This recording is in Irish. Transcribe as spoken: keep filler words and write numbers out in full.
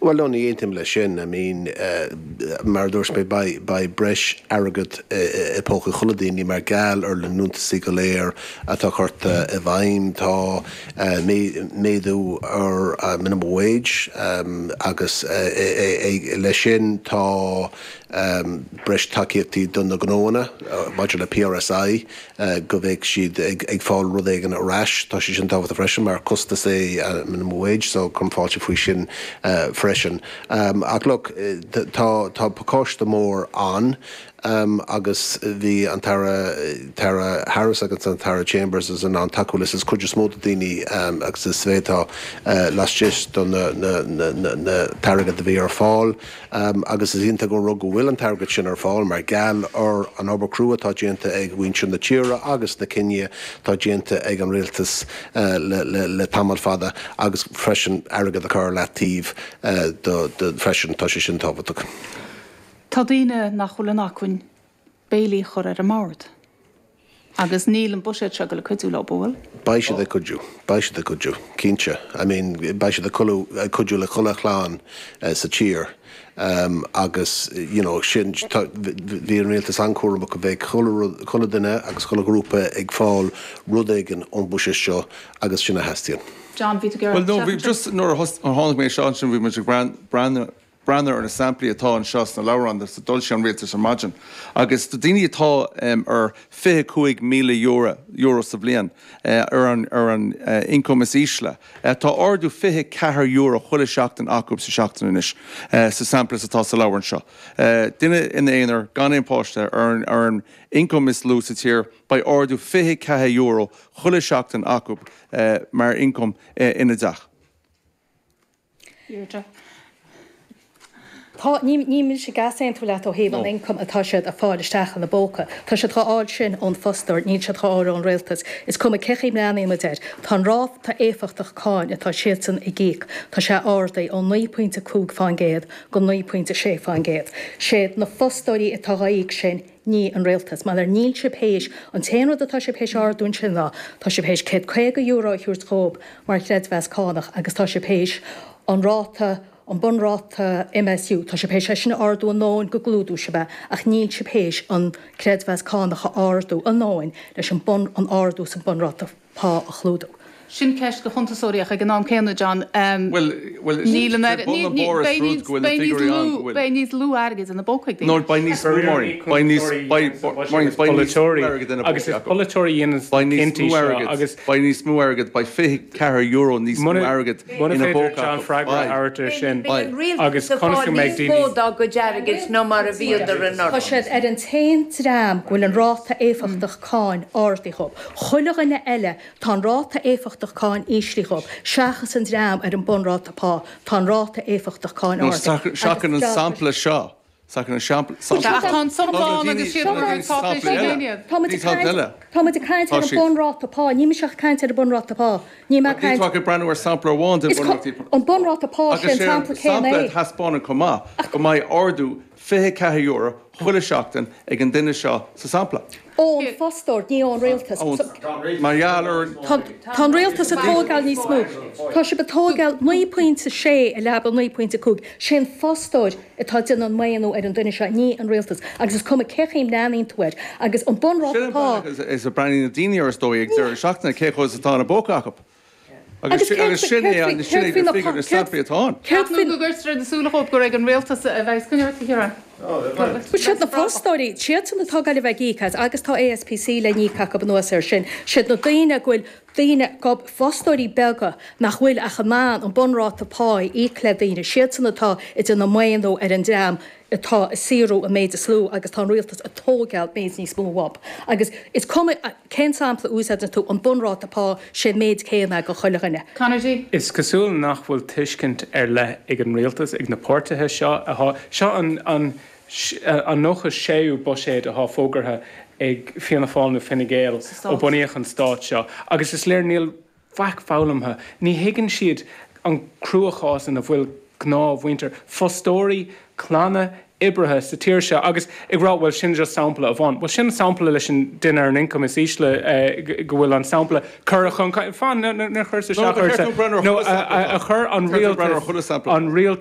Well no, ní aontaím leis sin I mean uh, mar dúirt mé beidh breis airgead i bpóca chuile daoine mar gheall ar na liúntaisí go léir atá curtha i bhfeidhm tá uh, méadú ar uh, minimum wage um, agus uh, e, e, leis sin tá um, breis tacaíochtaí don na gnóanna uh, maidir le PRSI uh, go mbeidh siad ag, ag fáil rud éigin ar ais tá sé sin tábhachtach freisin mar costas é uh, minimum wage so cuirim fáilte faoi sin uh, freisin. Um, ach look tá tá pacáiste mór ann um, agus bhí an tAire tAire Harris agus an tAire Chambers as an an tacú is is cuid is mó daoine um, agus is féidir uh, laistigh don na, na, na, na, na t-airgead a bhí ar fáil um, agus is iontach go rud go bhfuil an t-airgead sin ar fáil mar gheall ar an obair chrua atá déanta ag muintir na tíre agus na cinntí atá déanta ag an rialtas uh, le, le, le tamall fada agus freisin airgead a chur le taobh uh, do, do freisin tá sé sin tábhachtach. Tá daoine nach bhfuil in acmhainn béilí a chur ar an mbord. Agus níl an buiséad seo le cuidiú leo bhfuil? Beidh siad ag cuidiú, beidh siad ag cuidiú, cinnte. I mean, beidh siad ag cuidiú le chuile chlann uh, sa tír. Um, agus you know, sin bhí an rialtas an-chúramach go mbeidh chuile duine agus chuile ghrúpa ag fáil rud éigin ón buiséad seo agus sin a theastaíonn. John bhí Well no, bhí just nuair a tháinig mé seo sin bhí muid ag breathnú breathnú ar na samplaí atá anseo sna leabhráin a d'fhoilsigh an rialtas ar maidin. Agus do daoine atá um, ar fiche cúig míle euro, euro sa bhliain uh, ar an, ar an uh, income is ísle. Uh, tá ardú fiche ceathair euro chuile seachtain acu sa seachtain anois uh, sa sampla atá sa leabhrán seo. Uh, duine ina aonar gan aon pháiste ar an, ar an income is lú sa tír beidh ardú fiche ceathair euro chuile seachtain acu uh, mar income uh, ina dteach. Deirdre. Tá ní ní sé gasaon leat ó thaobh an income atá siad a fáil isteach ina bpóca. Tá siad á fháil sin ón fostóir, níl siad á fháil ón rialtas. Is cuma cé mleanaid air. Tá ráta éifeachtach cáin atá siadsan ag íoc, Tá sé ardaithe ó naoi pointe cúig faoin gcéad go naoi pointe sé faoin gcéad. Sé na fostóirí atá á íoc sin ní an rialtas, mar ar níl sé théis an t-aon rud atá sé théis ardú sin ná, Tá sé théis céad caoga euro a thabhairt dóibh mar chreidmheas cánach agus tá sé théis an ráta an bunráta MSU Tá sé théis sin ardú a ndóthain go gclúdódh sé é ach níl sé théis an creidmheas cánach a ardú a ndóthain leis an bun an ardú san bunráta pá a chlúdú. Sin ceist do chuntasóirí ag an am céanna John Well well níl beidh níos lú airgid ina bpócaí. No beidh níos mó beidh níos agus is polaiteoirí cinntí agus beidh níos mó airgid beidh fiche ceathair euro níos mó airgid ina bpóca John freagra a sin agus conas go mbeidh daoine dá go airgid ná mar a bhíodar an Tá siad ar an t-aon dream go bhfuil an ráta éifeachtach cáin ardaithe dhóibh. Chuile dhuine eile tá an ráta éifeachtach cáin íslithe dhóibh, seachas an dream ar an bunráta pá, tá an ráta éifeachtach cáin ardaithe. Seachas an sampla seo. Seachas an sampla Tá sampla agus siad Tá muid ag caint ar an bunráta pá, ní mise ag caint ar an bunráta pá. Ní mé caint Tá breathnú ar sampla amháin den bunráta. An bunráta pá sin sampla céanna é. Sampla thaispeánann chomh maith go mbeidh ardú fiche ceathair euro chuile seachtain ag an duine seo sa sampla. Ón fostóir ní ón rialtas. Mar gheall ar Tá an rialtas ag tógáil níos mó. Tá sé ag tógáil naoi pointe sé i leaba naoi pointe cúig. Sé an fostóir atá déanamh an maoiniú ar an duine seo ní an rialtas, agus is cuma cé chaoi a mbreathnaíonn tú air agus an bunráta pá. Is a breathnaíonn na daoine ar is dóigh ag deireadh seachtaine cé chomh atá ina bpóca acu. Agus sin é an sin é na samplaí atá ann. Céard go gcuirtear na súile chomh gur ag an rialtas a bheidh coinneáil a Siad na fostóirí, siadsan atá ag bheith ag íoc as agus tá ASPC le n-íoc acu anuas air sin. Siad na daoine go bhfuil daoine go fostóirí beaga nach bhfuil ach in ann an bunráta pá a íoc le daoine, siadsan atá ag déanamh maoiniú ar an dream atá ag saothrú an méid is lú agus tá an rialtas ag tógáil méid níos mó uathu. Agus is cuma cén sampla a úsáideann tú an bunráta pá sé an méid céanna do chuile dhuine. Conor G. Is cosúil nach bhfuil tuiscint ar leith ag an rialtas ag na páirtithe seo atá seo an an an nócha séú buiséad atá fógartha ag Fianna Fáil nó Fine Gael ó bunaíodh an stát seo agus is léir níl faic foghlamtha. Ní thuigeann siad an cruachás ina bhfuil gnáthmhuintir, fostóirí, clanna, oibrithe sa tír seo agus ag rá bhuel sin just sampla amháin. Bhuel sin sampla leis an duine ar an income is ísle go bhfuil an sampla curtha chun fan níor chuir isteach nó a chuir an rialtas an rialtas